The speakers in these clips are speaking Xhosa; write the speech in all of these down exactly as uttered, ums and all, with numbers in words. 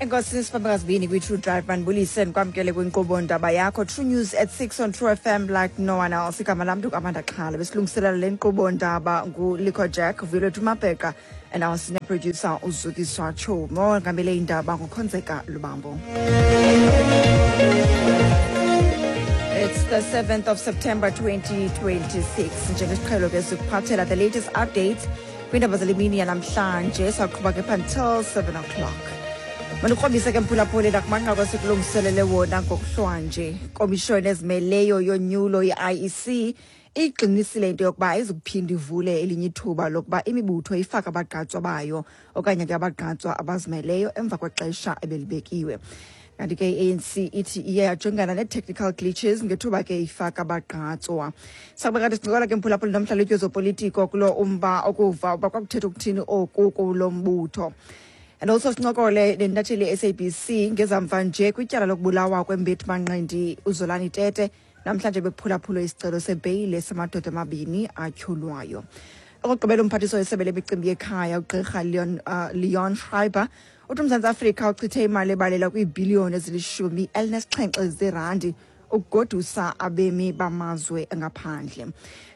Enkosi sifambekazibini kwi-True Drive. Mandibulise, ndikwamkele kwinkqubo ndaba yakho, True News at six on True F M like no one else. Igama lam ndinguAmanda Xhala. Besilungiselela le nkqubo ndaba nguLico Jack, Vuyolwethu Mabheka and our senior producer uZukiswa Chomo. Ngamele indaba nguKhonzeka Lubambo. It's the seventh of September twenty twenty-six. Njengesiqhelo ke sikuphathela the latest updates kwiindaba zale mini yanamhlanje. Saqhuba ke until seven o'clock. Mandikrobise ke, mphulaphuli, nakumanqaku esikulungiselele wona ngokuhlwanje. Komishoni ezimeleyo yonyulo, i-I E C, igxinisile into yokuba ayizukuphinda ivule elinye ithuba lokuba imibutho ifake abagqatswa bayo okanye ke abagqatswa abazimeleyo emva kwexesha ebelibekiwe. Kanti ke i-A N C ithi iye yajongana nee-technical glitches ngethuba ke ifaka abagqatswa. Sakuba kanti sincokola ke, mphulaphuli, nomhlalutyi wezopolitiko kulo umba, okuva uba kwakuthetha ukuthini oku kulo mbutho. And also sincokole nentatheli ye-S A B C ngezamva nje kwityala lokubulawa kwembethi manqindi uZolani Tete. Namhlanje bekuphulaphulwe isicelo sebheyile samadoda amabini atyholwayo. Okokugqibela, umphathiswa wesebe lemicimbi yekhaya, ugqirha Leon, uh, Leon Schreiber, uthi uMzantsi Afrika uchithe imali ebalelwa kwiibhiliyoni ezilishumi elinesixhenxe zerandi ukugodusa abemi bamazwe ngaphandle.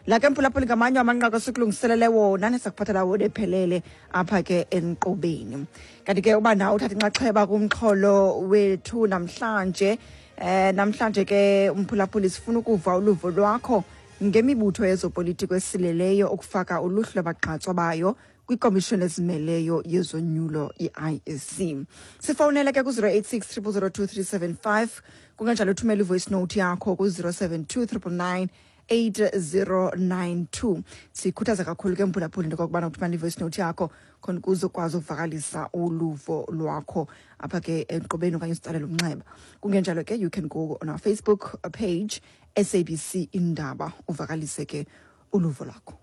La ke, mphulaphuli, ngamanye amanqaku esikulungiselele wona nesakuphathela wona ephelele apha ke enkqubeni. Kanti ke uba nawe uthatha inxaxheba kumxholo wethu namhlanje, eh namhlanje ke, umphulaphuli, sifuna ukuva uluvo lwakho ngemibutho yezopolitiko esileleyo ukufaka uluhlu lwabagqatswa bayo kwikomishoni ezimeleyo yezonyulo, i-I E C. Sifowunele ke ku-zero eight six zero zero two three seven five, kungenjalo uthumele i-voice note yakho ku-zero seven two nine nine nine eight zero nine two. Sikhuthaza kakhulu ke, mphulaphuli, into okokubana uthumele i-voice note yakho khona ukuze ukwazi ukuvakalisa uluvo lwakho apha ke enkqubeni okanye usitsalela umnxeba. Kungenjalo ke you can go on our Facebook page, S A B C Indaba, uvakalise ke uluvo lwakho.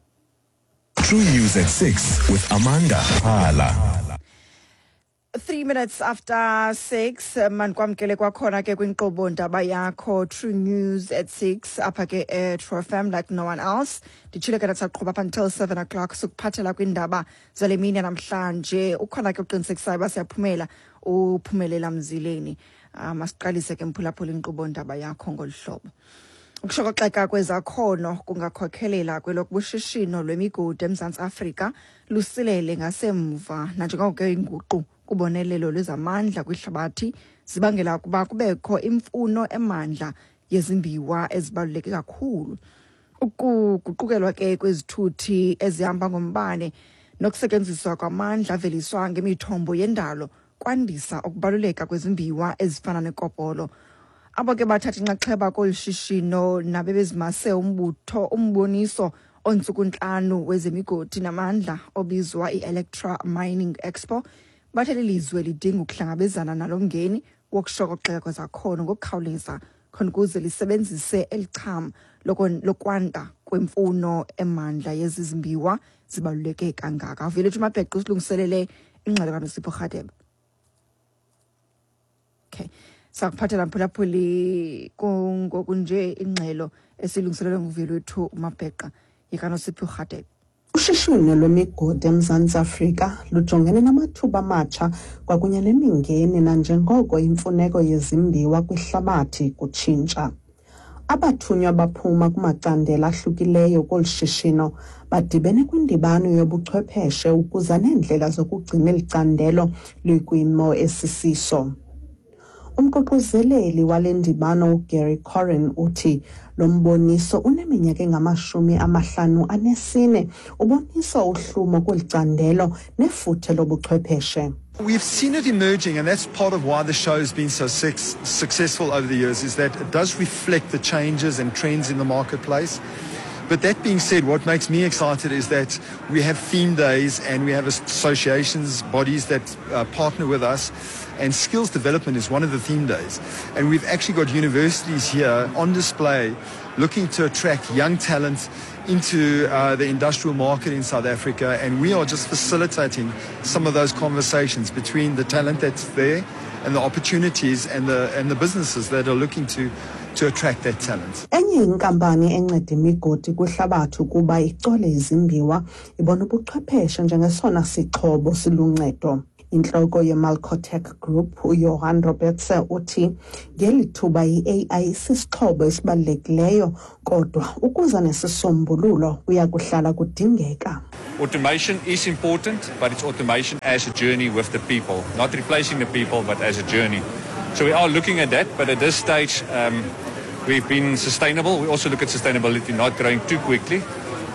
True News at six with Amanda Hala. Three minutes after six, mandikwamkele kwakhona ke kwinkqubo ndaba yakho, True News at six, apha ke e-True F M like no one else. Nditshile ke ndathi saqhuba up until seven o'clock, sikuphathela kwiindaba zale mini namhlanje. Ukhona ke uqinisekisayo uba siyaphumela, uphumelela mzileni. um masiqalise ke, mphulaphula, inkqubo ndaba yakho ngolu hlobo. Ukushokoxeka kwezakhono kungakhokhelela kwelokuba lwemigodi eMzantsi Afrika lusilele ngasemva, nanjengoko ke inguqu kubonelelo lwezamandla kwihlabathi zibangela ukuba kubekho imfuno emandla yezimbiwa ezibaluleke kakhulu. Ukuguqukelwa ke kwezithuthi ezihamba ngombane nokusetyenziswa kwamandla aveliswa ngemithombo yendalo kwandisa ukubaluleka kwezimbiwa ezifana nekopolo. Abo ke bathatha inxaxheba kolu shishino nabebezimase umbutho umboniso ontsuku ntlanu wezemigodi namandla obizwa i-Electra Mining Expo bathe lilizwe lidinga ukuhlangabezana nalo mngeni wokushokoxeka kwezakhono ngokukhawuleza khona ukuze lisebenzise eli cham lokwanda kwemfuno emandla yezi zimbiwa zibaluleke kangaka. Vuyolwethu Mabheqe usilungiselele ingxelo kaNosipho Rhadebe. Okay, sakuphathela, mphulaphuli, kungoku nje ingxelo esilungiselelwe nguVuyolwethu Mabheqa yikaNosipho Rhadebe. Ushishino lwemigodi eMzantsi Afrika lujongene namathuba amatsha kwakunye nemingeni nanjengoko imfuneko yezimbiwa kwihlabathi kutshintsha. Abathunywa baphuma kumacandelo ahlukileyo kolu shishino badibene kwindibano yobuchwepheshe ukuza neendlela zokugcina eli candelo likwimo esisiso. Umququzeleli wale ndibano, uGary Corrin, uthi lo mboniso uneminyaka engamashumi amahlanu anesine ubonisa uhlumo kweli candelo nefuthe lobuchwepheshe. We've seen it emerging, and that's part of why the show has been so successful over the years, is that it does reflect the changes and trends in the marketplace. But that being said, what makes me excited is that we have theme days and we have associations, bodies that uh, partner with us, and skills development is one of the theme days. And we've actually got universities here on display looking to attract young talent into uh, the industrial market in South Africa, and we are just facilitating some of those conversations between the talent that's there and the opportunities and the, and the businesses that are looking to to attract that talent. Enye inkampani enceda imigodi kwihlabathi ukuba icole izimbiwa ibona ubuchwepheshe njengesona sixhobo siluncedo. Intloko yeMalcotec Group uJohan Robertse uthi ngeli thuba i-A I sisixhobo esibalulekileyo, kodwa ukuza nesisombululo kuya kuhlala kudingeka. Automation is important, but it's automation as a journey with the people, not replacing the people, but as a journey. So we are looking at that, but at this stage, um, we've been sustainable. We also look at sustainability, not growing too quickly.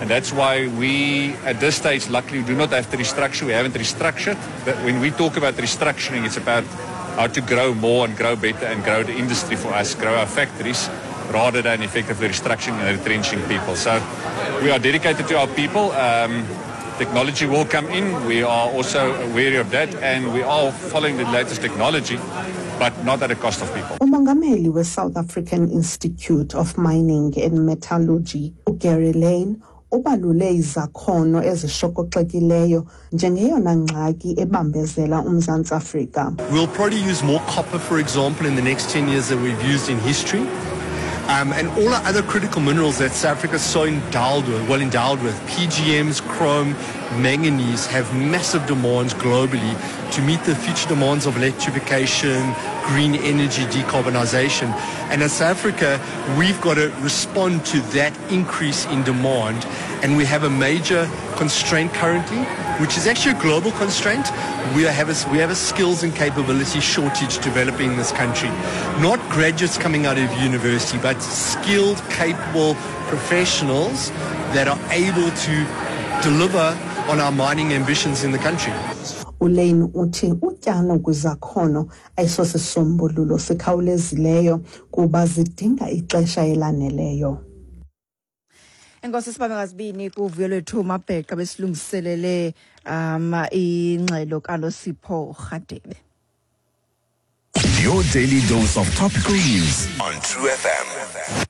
And that's why we, at this stage, luckily, do not have to restructure. We haven't restructured. But when we talk about restructuring, it's about how to grow more and grow better and grow the industry for us, grow our factories, rather than effectively restructuring and retrenching people. So we are dedicated to our people. Um, technology will come in. We are also wary of that, and we are following the latest technology, but not at the cost of people. Umongameli we-South African Institute of Mining and Metallurgy uGary Lane ubalule izakhono ezishokoxekileyo njengeyona ngxaki ebambezela uMzantsi Afrika. We'll probably use more copper, for example, in the next ten years than we've used in history. Um, and all our other critical minerals that South Africa is so endowed with, well endowed with, P G Ms, chrome, manganese, have massive demands globally to meet the future demands of electrification, green energy, decarbonization. And as South Africa, we've got to respond to that increase in demand. And we have a major constraint currently, which is actually a global constraint. We have a, we have a skills and capability shortage developing in this country. Not graduates coming out of university, but skilled, capable professionals that are able to deliver on our mining ambitions in the country. uLane uthi utyalo kwizakhono ayisosisombululo sikhawulezileyo kuba zidinga ixesha elaneleyo. Enkosi, sibambe ngazibini kuvuyo lwethu Mabheqa besilungiselele um ingxelo kaNosipho Rhadebe. Your daily dose of topical news on True F M.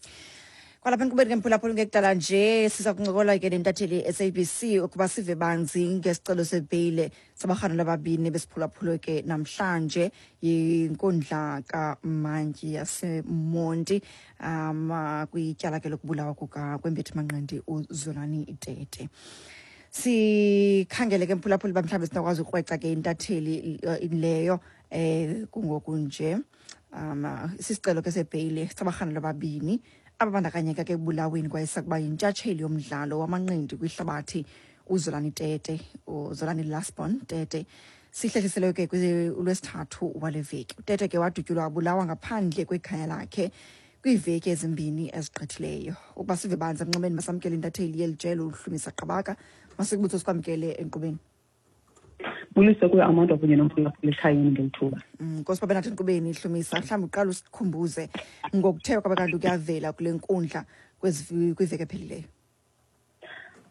Kwalapha enkqubeni ke, mphulaphula, ngekudala nje siza kuncokola ke nentatheli S A B C ukuba sive banzi ngesicelo sebheyile sabarhanelwa ababini besiphulaphulwe ke namhlanje yinkundla kamantyi yaseMonti um kwityala ke lokubulawa kuka kwembethi manqindi uZolani Tete. Sikhangele ke, mphulaphuli, uba mhlawumbi sinokwazi ukrweca ke intatheli eh, leyo eh kungoku nje. um sisicelo ke sebheyile sabarhanelwa ababini ababandakanyeka ke ekubulaweni kwayesakuba yintshatsheli yomdlalo wamanqindi kwihlabathi uZolani Tete, uZolani Lasbon Tete, sihlehliselwe ke kulwesithathu wale veki. UTete ke wadutyulwa wabulawa ngaphandle kwekhaya lakhe kwiiveki ezimbini ezigqithileyo. Ukuba sive banzi emnxebeni, masamkele intatheli yeli jelo uHlumisa Qabaka. Masikubutso, sikwamkele enkqubeni. Bulise kuyo Amanda kunye nomphulaphula ekhayeni ngelithuba. Mm, Nkosi babe nathi enkqubeni, Hlumisa. Mhlawumbi uqala usikhumbuze ngokuthe kwabe kanti kuyavela kule nkundla kwezi- kwiveki ephelileyo.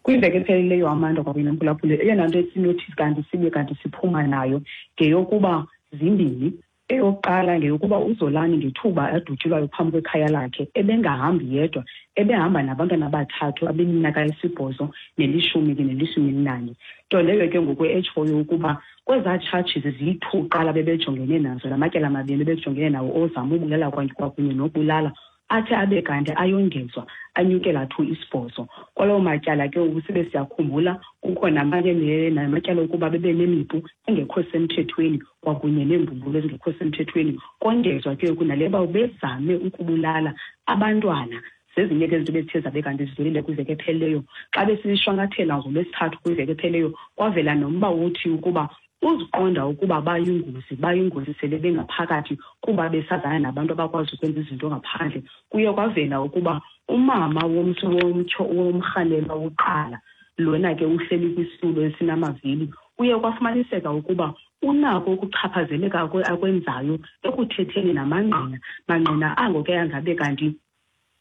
Kwiveki ephelileyo, Amanda kwakunye nomphulaphula, eyona nto esinothi kanti sibe kanti siphuma nayo ngeyokuba zimbini. Eyokuqala ngeyokuba uZolani ngethuba adutyulwayo phambi kwekhaya lakhe ebengahambi yedwa, ebehamba nabantwana abathathu abeminyaka esibhozo nelishumi ke nelishumi elinanye, nto leyo ke ngoku etshoyo ukuba kwezaa charges ziyi-two qala bebejongene nazo, la matyala mabini bebejongene nawo ozama ubulala kwakunye nokubulala, athe abe kanti ayongezwa anyukela to isibhozo kwalawo matyala. Ke ngoku sibe siyakhumbula kukho namanye namatyala okuba bebe nemipu engekho semthethweni kwakunye neembumbulu ezingekho semthethweni, kongezwa ke ngoku nale uba bezame ukubulala abantwana. Zezinye ke izinto bezithe zabe kanti zivelile kwiveki ephelileyo. Xa besishwankathela ngoLwesithathu kwiveki ephelileyo, kwavela nomba wothi ukuba uziqonda ukuba bayingozi bayingozi sele bengaphakathi kuba besazana nabantu abakwazi ukwenza izinto ngaphandle. Kuye kwavela ukuba umama womntu womtsho womrhanelwa wokuqala lona ke uhleli kwisitulo esinamavili, kuye kwafumaniseka ukuba unako ukuchaphazeleka akwenzayo ekuthetheni namangqina, mangqina ango ke angabe kanti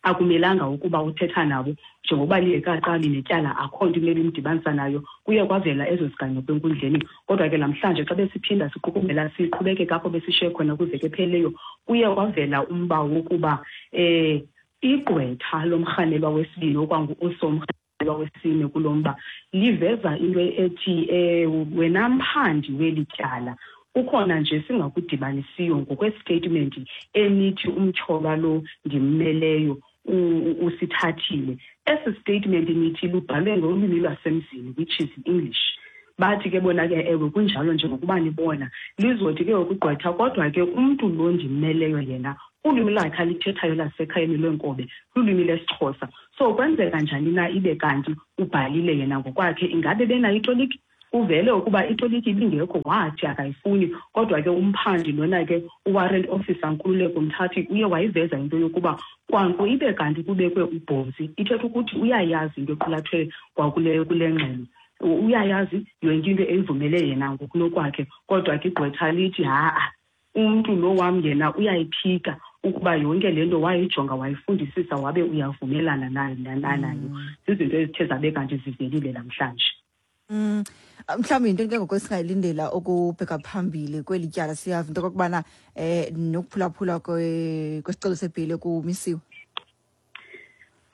akumelanga ukuba uthetha nabo njengokuba lingekaqali netyala, akho nto imele imdibanisa nayo. Kuye kwavela ezo ziganeko enkundleni. Kodwa ke namhlanje xa besiphinda siqukumbela, siqhubekeka apho besishiye khona kwiveki ephelileyo, kuye kwavela umba wokuba um igqwetha lomrhanelwa wesibini okwangu-osomrhanelwa wesine kulo mba liveza into ethi um wena mphandi weli tyala, kukhona nje singakudibanisiyo ngokwestatement enithi umtyholwa lo ndimmeleyo usithathile. Esi statement nithi lubhalwe ngolwimi lwasemzini, which is English. Bathi ke bona ke ewe kunjalo njengokuba nibona lizothi ke ukugqwetha, kodwa ke umntu lo ndimeleyo yena ulwimi lwakhe alithethayo lasekhayeni lwenkobe lulwimi lesiXhosa. So kwenzeka njani na ibe kanti ubhalile yena ngokwakhe? Ingabe benayo itoliki? Uvele ukuba itoliki ibingekho, wathi akayifuni. Kodwa ke umphandi lona ke uwarrant officer Nkululeko Mthathi uye wayiveza into yokuba kwanko ibe kanti kubekwe ubhozi, ithetha ukuthi uyayazi into equlathwe kwakule kule ngxelo, uyayazi yonke into eyivumele yena ngokunokwakhe. Kodwa ke igqwetha lithi ha-a, umntu lo wam yena uyayiphika ukuba yonke le nto wayijonga wayifundisisa wabe uyavumelana nayo nayo. Zizinto ezithe zabe kanti zivelile namhlanje. Mm, mhlawumbi yinto ke ngoku esingayilindela ukubheka phambili kweli tyala. Siyava into okokubana eh nokuphulaphula kwesicelo sebheyile kumisiwe.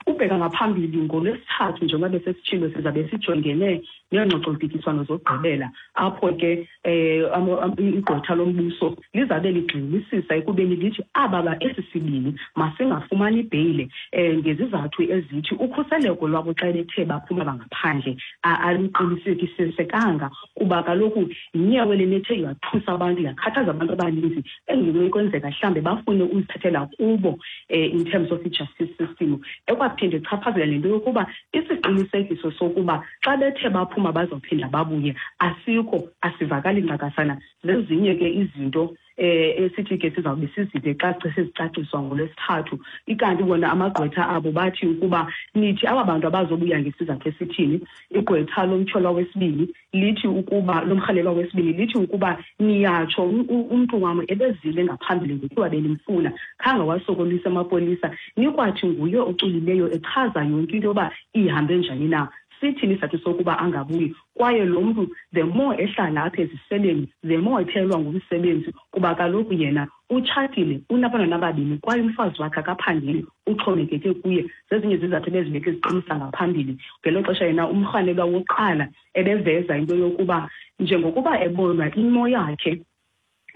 Ubheka ngaphambili ngoLwesithathu, njengoba besesitshilo, sizabe sijongene neengxoxompikiswano zokugqibela apho ke um igqwetha lombuso lizabe ligxinisisa ekubeni lithi aba ba esi sibini masingafumani ibheyile um ngezizathu ezithi ukhuseleko lwabo xa bethe baphuma bangaphandle aluqinisekisisekanga, kuba kaloku yinyewe le nethe yathusa abantu, yakhathaza abantu abaninzi engenokwenzeka mhlawumbe bafune uzithathela kubo um in terms of i-justice system. Ekwaphinde ichaphazela nento yokuba isiqinisekiso sokuba xa bethe baphuma bazophinda babuye asikho, asivakali ncakasana. Zezinye ke izinto eh esithi ke sizawube sizive xa sezicaciswa ngoLwesithathu. Ikanti bona amagqwetha abo bathi ukuba nithi aba bantu abazobuya ngesizathu esithini. Igqwetha lomtyholwa wesibini lithi ukuba lomrhalelwa wesibini lithi ukuba niyatsho umntu wam ebezile ngaphambili ngokuba benimfuna, khange wasokolisa amapolisa, nikwathi nguye oculileyo echaza yonke into yoba ihambe njani na. Sithini isizathu sokuba angabuyi? Kwaye lo mntu the more ehlala apha eziseleni, the more ephelelwa ngumsebenzi, kuba kaloku yena utshatile, unabantwana ababini, kwaye umfazi wakhe akaphangeli, uxhomekeke kuye. Zezinye zizathu ebezibeke ziqinisa ngaphambili. Ngelo xesha yena umrhanelwa wokuqala ebeveza into yokuba njengokuba ebonwa imo yakhe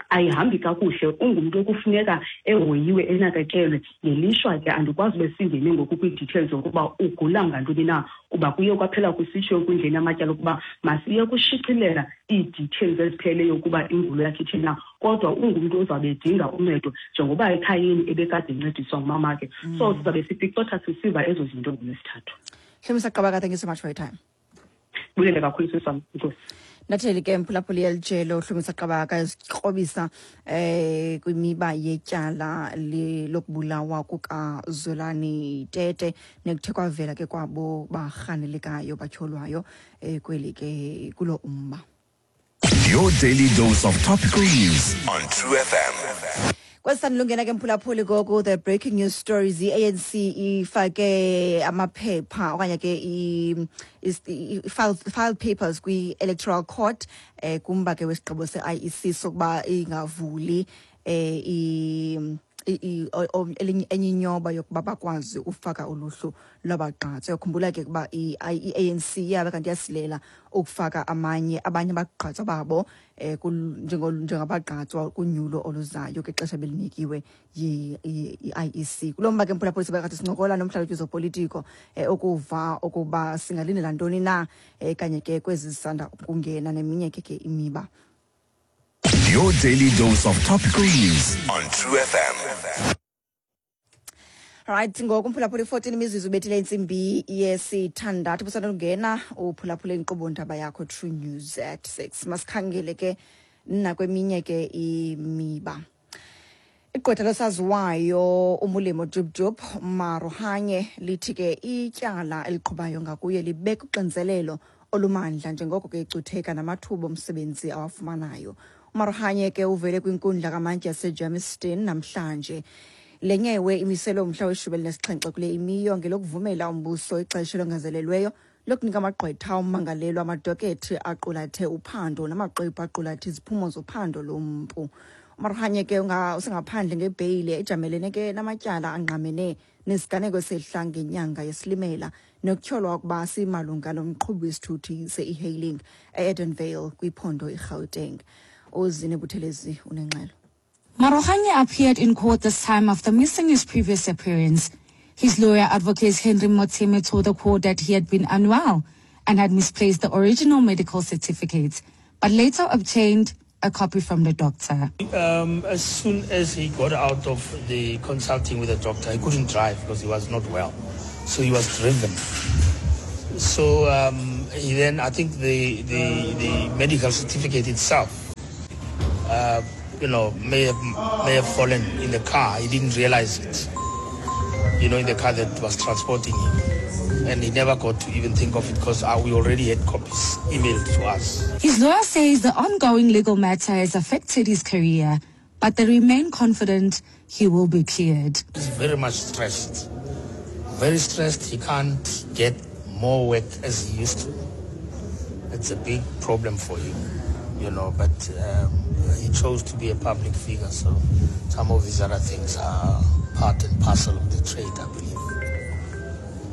ayihambi kakuhle, ungumntu okufuneka ehoyiwe, enakekelwe. Ngelishwa ke andikwazi ube singene ngoku kwii-details zokuba ugula ngantoni na, kuba kuye kwaphela kusitsho enkundleni yamatyala ukuba masiye kushicilela ii-details ezipheleleyo ukuba ingulo yakhe ithini na. Kodwa ungumntu ozawube edinga uncedo njengoba ekhayeni ebekade encediswa ngumamakhe. So sizabe sipicotha sisiva ezo zinto ngoLwesithathu. Hlomisa Qabaka, thank you so much for your time. Bulele kakhulu sisam, enkosi. Natheli ke mphulaphuli yelijelo Hlomisa Qabaka esikrobisa eh kwimiba yetyala lokubulawa kukaZolani Tete nekuthe kwavela ke kwabo barhanelekayo batyholwayo eh kweli ke kulo umba. Your daily dose of topical news on True F M. Kwesandlungena ke mphulaphuli ngoku the breaking news stories. I-A N C ifake amaphepha okanye ke i file file papers kwi-Electoral Court eh kumba ke wesigqibo se-I E C sokuba ingavuli eh i elinye enye inyoba yokuba bakwazi ufaka uluhlu lwabagqatsi. Uyakhumbula ke ukuba i-A N C yabe kanti yasilela ukufaka amanye abanye abagqatswa babo eh njengabagqatswa kunyulo oluzayo ke xesha belinikiwe yi-I E C. Kulo mba ke mphulaphuli sebekade sincokola nomhlalutyi wezopolitiko eh ukuva ukuba singalindela ntoni na eh kanye ke kwezi zisanda ukungena neminye ke ke imiba. Your daily dose of topical news on True F M. Right, ngoku mphulaphuli fourteen imizuzu ubethile intsimbi yesithandathu busandungena uphulaphule inkqubo ndaba yakho True News at six. Masikhangele ke nakweminye ke imiba. Igqwetha losaziwayo uMolemo Jub Maarohanye lithi ke ityala eliqhubayo ngakuye libeka uxinzelelo olumandla njengoko ke icutheka namathuba omsebenzi awafumanayo. Maarohanye ke uvele kwinkundla kamantyi yaseGermiston namhlanje. Le nyewe imiselwe umhla weshumi elinesixhenxe kule imiyo ngelokuvumela umbuso ixesha elongezelelweyo lokunika amagqwetha ummangalelwa amadokethi aqulathe uphando namaqwebhu aqulathe iziphumo zophando lompu. Maarohanye ke usengaphandle ngebheyile ejamelene ke namatyala angqamene nesiganeko esehla ngenyanga yeSilimela nokutyholwa ukuba simalunga nomqhubi wesithuthi se-e-hailing e-Edenvale kwiphondo iGauteng. Uzine Buthelezi unengxelo. Maarohanye appeared in court this time after missing his previous appearance. His lawyer, Advocate Henry Motsemme, told the court that he had been unwell and had misplaced the original medical certificate, but later obtained a copy from the doctor. Um, as soon as he got out of the consulting with the doctor, he couldn't drive because he was not well. So he was driven. So um, he then, I think the, the, the medical certificate itself, uh, you know, may have, may have fallen in the car. He didn't realize it, you know, in the car that was transporting him. And he never got to even think of it because uh, we already had copies emailed to us. His lawyer says the ongoing legal matter has affected his career, but they remain confident he will be cleared. He's very much stressed. Very stressed. He can't get more work as he used to. It's a big problem for him, you know, but um, he chose to be a public figure, so some of these other things are part and parcel of the trade, I believe.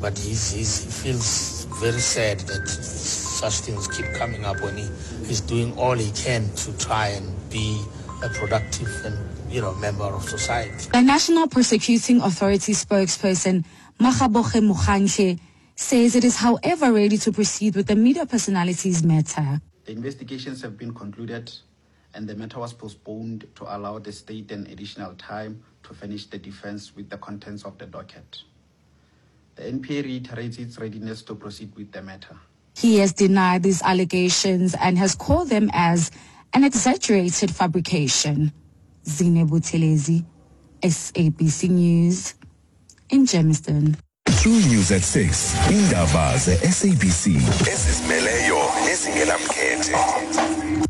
But he's, he's, he feels very sad that such things keep coming up when he, he's doing all he can to try and be a productive and, you know, member of society. The National Prosecuting Authority spokesperson, Makaboge Mukhanche, says it is, however, ready to proceed with the media personalities matter. The investigations have been concluded and the matter was postponed to allow the state an additional time to finish the defense with the contents of the docket. The N P A reiterates its readiness to proceed with the matter. He has denied these allegations and has called them as an exaggerated fabrication. Zine Buthelezi, S A B C News, in Germiston. True News at six. Indaba ze S A B C. Ezizimeleyo nezingenamkhethe.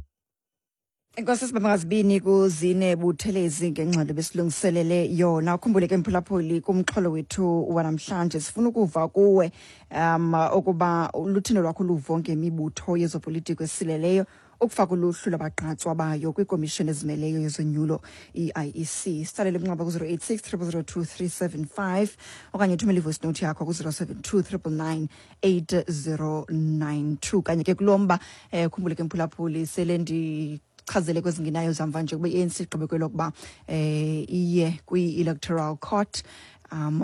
Enkosi sibamazibini kuzine Buthelezi ngengxelo besilungiselele yona. Ukhumbule ke mphulaphuli kumxholo wethu wanamhlanje sifuna ukuva kuwe um ukuba luthini lwakho luvo ngemibutho yezopolitiko esileleyo ukufaka uluhlu lwabagqatswa bayo kwikomishoni ezimeleyo yezonyulo I I E C. Sithalele umnxeba ku zero eight six triple zero two three seven five okanye uthumele i-voice note yakho ku zero seven two triple nine eight zero nine two. Kanye ke kulomba eh khumbule ke mphulaphuli sele ndi chazele kwezingenayo zamva nje kube i-A N C igqibe kwelokuba eh iye kwi-electoral court um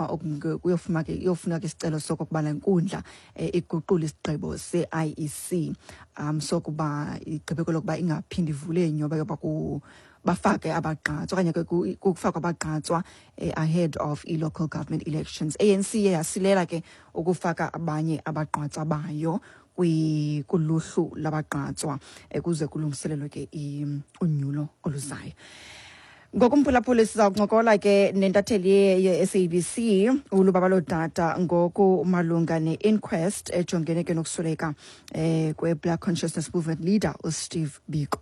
kuyofuna ke iyofuna ke isicelo sokuba lenkundla iguqule isigqibo se-I E C um sokuba igqibe kwelokuba ingaphindi ivule inyoba yoba ku bafake abagqatswa okanye ke kufakwa abagqatswa ahead of i-local government elections. A N C yasilela ke ukufaka abanye abagqatswa bayo kuluhlu labagqatswa kuze kulungiselelwe ke unyulo oluzayo. Ngokumphulaphula siza kuncokola ke nentatheli ye-S A B C uLubabalo Dada ngoku malunga ne-inquest ejongene ke nokusweleka eh kwe-Black Consciousness Movement leader uSteve Biko.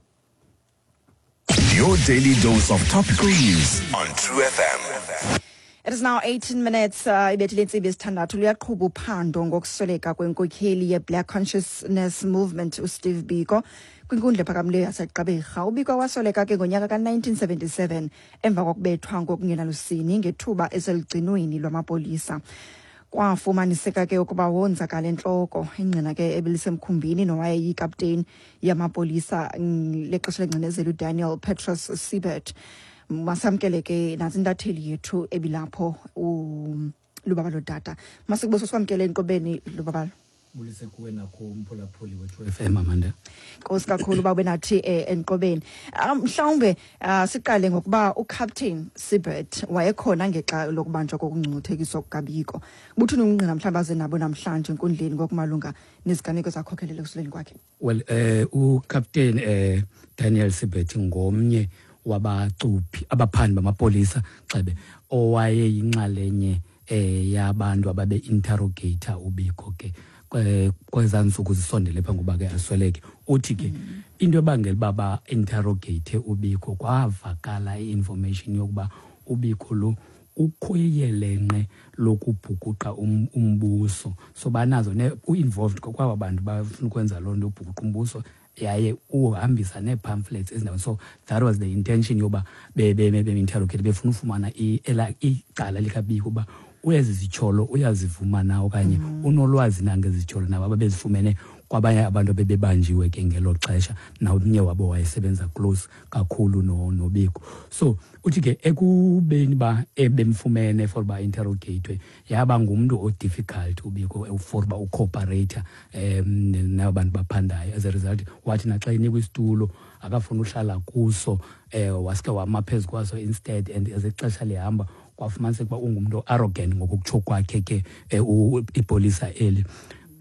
Your daily dose of topical news on True F M. It is now eighteen minutes ibethile intsimbi yesithandathu. Luyaqhuba uphando ngokusweleka kwenkokheli ye-Black Consciousness Movement uSteve Biko kwinkundla ephakamileyo yaseGqeberha. uBiko wasweleka ke ngonyaka ka nineteen seventy-seven emva kokubethwa ngokungenalusini ngethuba eselugcinweni lwamapolisa. Kwafumaniseka ke ukuba wonzakala entloko. Ingqina ke ebelisemkhumbini nowayeyikapteni yamapolisa lexesha lengcinezelo uDaniel Petrus Siebert. Masamkele ke nantsi intatheli yethu ebilapho uLubabalo Dada. Masikubuso sikwamkele enkqubeni Lubabalo. Bulise kuwe nakho umphulaphuli wethu F M Amanda. Nkosi kakhulu uba ube nathi enkqubeni. Mhlawumbe siqale ngokuba uCaptain Siebert wayekhona ngexa lokubanjwa kokungcuthekiswa kukaBiko. Buthini ubungqina mhlawumbe aze nabo namhlanje enkundleni ngokumalunga neziganeko zakhokhelela ekusuleni kwakhe? Well, eh uCaptain eh Daniel Siebert ngomnye wabacuphi abaphandi bamapolisa xebe owayeyinxalenye eh yabantu ababe interrogator uBiko ke kweza ntsuku zisondele phambi kokuba ke asweleke. Uthi ke into ebangela uba ba-interrogate uBiko kwavakala i-information yokuba uBiko lo ukhoyelenqe lokubhukuqa umbuso, so banazo ne u-involved kwaba bantu bafuna ukwenza loo nto ubhukuqa umbuso yaye uhambisa nee-pamphlets ezindaweni. So that was the intention yoba be-interrogate befuna ufumana icala likaBiko uba ezi zityholo uyazivuma na okanye unolwazi na ngezityholo nabo ababezifumene Kwabanye abantu bebebanjiwe ke ngelo xesha, nawomnye wabo wayesebenza close kakhulu no noBiko. So uthi ke ekubeni ba ebemfumene for ba interrogate, yaba ngumuntu o-difficult uBiko for ba u-cooperate um nabantu baphandayo. As a result, wathi naxa enikwa isitulo akafuna uhlala kuso, eh waske wama phezu kwaso instead. And as ixesha lihamba kwafumaniseka uba ungumntu arrogant ngokutsho kwakhe ke ipolisa eli,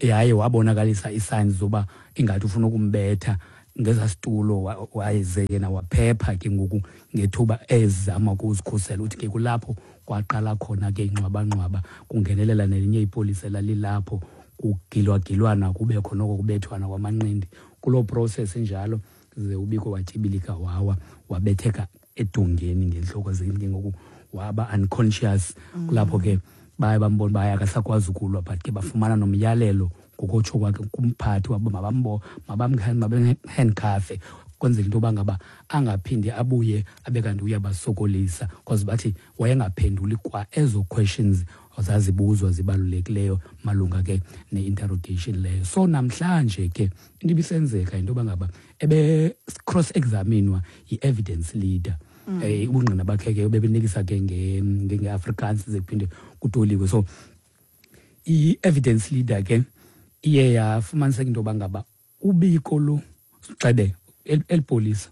yaye wabonakalisa i-signs zoba ingathi ufuna ukumbetha ngeza situlo. Wayeze yena waphepha ke ngoku ngethuba ezama ukuzikhusela. Uthi ke kulapho kwaqala khona ke ingxwabangxwaba, kungenelela nelinye ipolisa elalilapho, kugilwagilwana, kube khona oko kubethwana kwamanqindi. Kuloo process injalo ze uBiko watyibilika, wawa, wabetheka edongeni ngentloko, ke ngoku waba unconscious. Kulapho ke baye bambona uba akasakwazi ukulwa, but ke bafumana nomyalelo ngokotsho kwakhe kumphathi wabo mabambo mabamhandcuffe kwenzela into yoba ngaba angaphindi abuye abe kanti uyabasokolisa, because bathi wayengaphenduli kwa ezo questions zazibuzwa zibalulekileyo malunga ke ne-interrogation leyo. So namhlanje ke into ibisenzeka into yoba ngaba ebe cross examinwa yi-evidence leader. mm. Eh ubungqina bakhe ke bebenikisa ke nge-Afrikaans ze kuphinde kutoliwe. So i-evidence leader ke iye yafumaniseka into yoba ngaba uBiko lo xebe elipolisa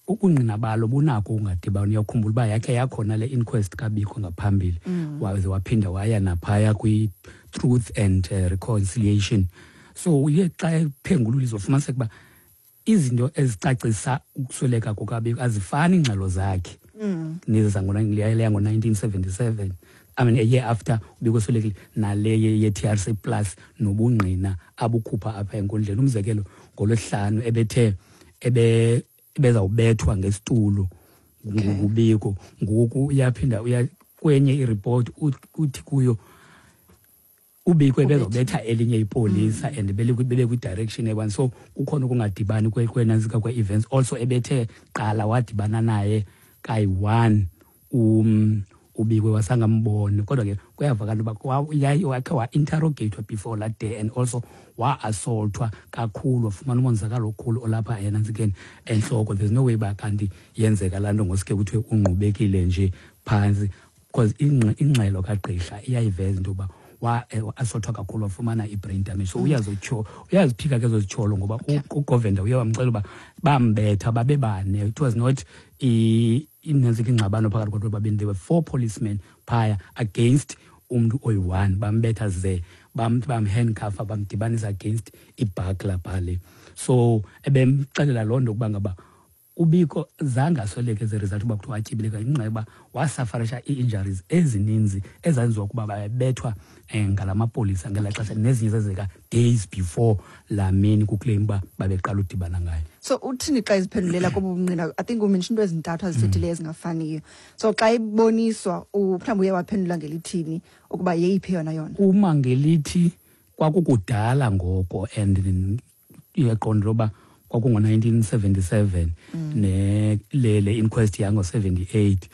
ubungqina balo bunako ungadibani. Uyakhumbula uba yakhe yakhona le inquest kaBiko ngaphambili, mm. waze waphinda waya naphaya kwi-Truth and uh, Reconciliation. So uye xa ephengulula izofumaniseka uba izinto ezicacisa ukusweleka kukaBiko azifani iingxelo zakhe mm. nezi zango-nineteen seventy-seven, I mean a year after uBiko eswelekile, nale ye-T R C plus nobungqina abukhupha apha enkundleni. Umzekelo, ngolwesihlanu ebethe ebe ebezawubethwa ngesitulo nguBiko, ngoku uyaphinda uya kwenye ireport uthi kuyo uBiko ebezawubetha elinye ipolisa mm. and bebe kwi-direction eyi-one. So kukhona ukungadibani kwenantsika kwe-events. Also ebethe qala wadibana naye kayi-one um uBiko wasangamboni, kodwa ke kuyavakala uba wakhe wa-interrogatwa before that day and also wa-assaultwa kakhulu, wafumana umonzakalo okhulu olapha enantsikeni entloko. There's no way uba kanti yenzeka laa nto ngosuke kuthiwe ungqubekile nje phantsi, because ingxelo kagqirha iyayiveza into yoba wa-assaultwa kakhulu, wafumana i-brain damage. So uyazotyho uyaziphika ke ezo zityholo, ngoba uGovender uye wamxelela uba bambetha babebane. It was not inantsika ingxabano phakathi kwabantu babini. There were four policemen phaya against umntu oyi-one, bambetha ze bamhandcuffa, bamdibanisa against ibhakla phale. So ebemxelela loo nto ukuba ngaba uBiko zange asweleke as a result uba kuthiwa atyibileka, ngenxa yoba wasafarisha ii-injuries ezininzi ezenziwa ukuba babethwa ngala mapolisa ngelaa xesha, nezinye zenzeka days before laa mini kuclaim uba babeqala udibana ngayo. So uthini xa iziphendulela kobu bungqina? I think umention into ezintathu azithethileyo ezingafaniyo. So xa iboniswa mhlawumbi uye waphendula ngelithini ukuba yeyiphi yona yona? Uma ngelithi kwakukudala ngoko, and iyaqonda uba kwakungo-nineteen seventy-seven ne le le inquest yango seventy-eight,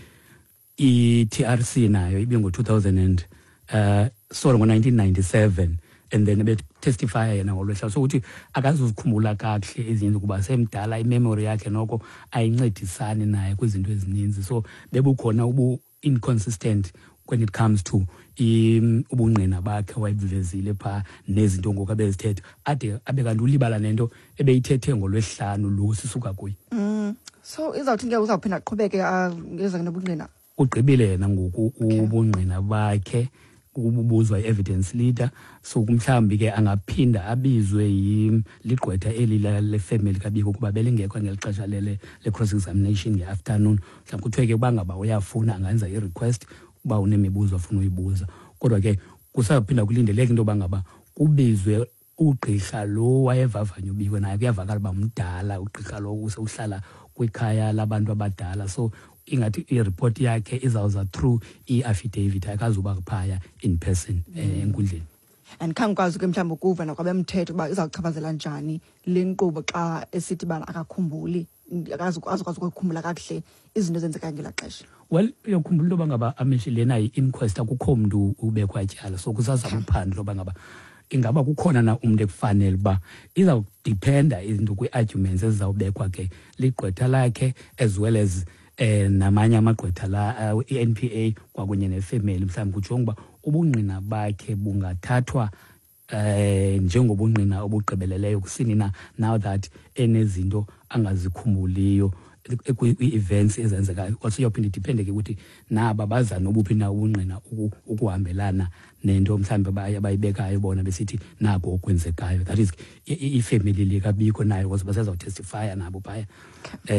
i-T R C nayo ibingo-two thousand and uh sorry ngo-nineteen ninety-seven, and then betestifya yena ngolwesihlanu. So uthi akazuzikhumbula kakuhle ezinye kuba semdala, imemory yakhe noko ayincedisani naye kwizinto ezininzi. So bebukhona ubu inconsistent when it comes to ubungqina bakhe wayebuvezile phaa nezinto ngoku abezithetha, ade abe kanti ulibala nento ebeyithethe ngolwesihlanu lo sisuka kuye. Mm. So izawuthi ke uzawuphinda aqhubeke ngeza nobungqina? Ugqibile yena ngoku ubungqina bakhe, ubuzwa i-evidence leader. So mhlawumbi ke angaphinda abizwe ligqwetha eli lefemeli kaBiko kuba belingekho ngeli xesha lele le-cross examination nge-afternoon. Mhlawumbi kuthiwe ke uba ngaba uyafuna angenza i-request uba unemibuzo afuna uyibuza. Kodwa ke kusaphinda kulindeleke into yoba ngaba kubizwe ugqirha lo wayevavanya uBiko, naye kuyavakala uba mdala ugqirha lo, uhlala kwikhaya labantu abadala. So ingathi ireport yakhe izawuza through i-affidavit, akazuba phaya in person enkundleni. And khangikwazi ke mhlawumbi ukuva nakwabemthetho uba izawuchaphazela njani le nkqubo xa esithi bana akakhumbuli, akazukwazi ukukhumbula kakuhle izinto ezenzeka ngelaa xesha. Well, uyakhumbula into yoba ngaba amishi lena yi-inquest, akukho mntu ubekwa tyala. So kusazama uphando loba ngaba Ingaba kukhona na umntu ekufanele uba izawudiphenda izinto kwii-arguments ezizawubekwa ke ligqwetha lakhe as well as eh namanye amagqwetha la, uh, i-N P A kwakunye nefemeli, mhlawumbi kujonga uba ubungqina bakhe bungathathwa eh njengobungqina obugqibeleleyo kusini na, now that enezinto angazikhumbuliyo kwii-events ezenzekayo. Also iyawuphinda idiphende ke ukuthi naba baza nobuphi na ubungqina ukuhambelana nento mhlawumbi abayibekayo bona besithi nako okwenzekayo, that is ifemeli likaBiko nayo, because basezawutestifya nabo phaya. And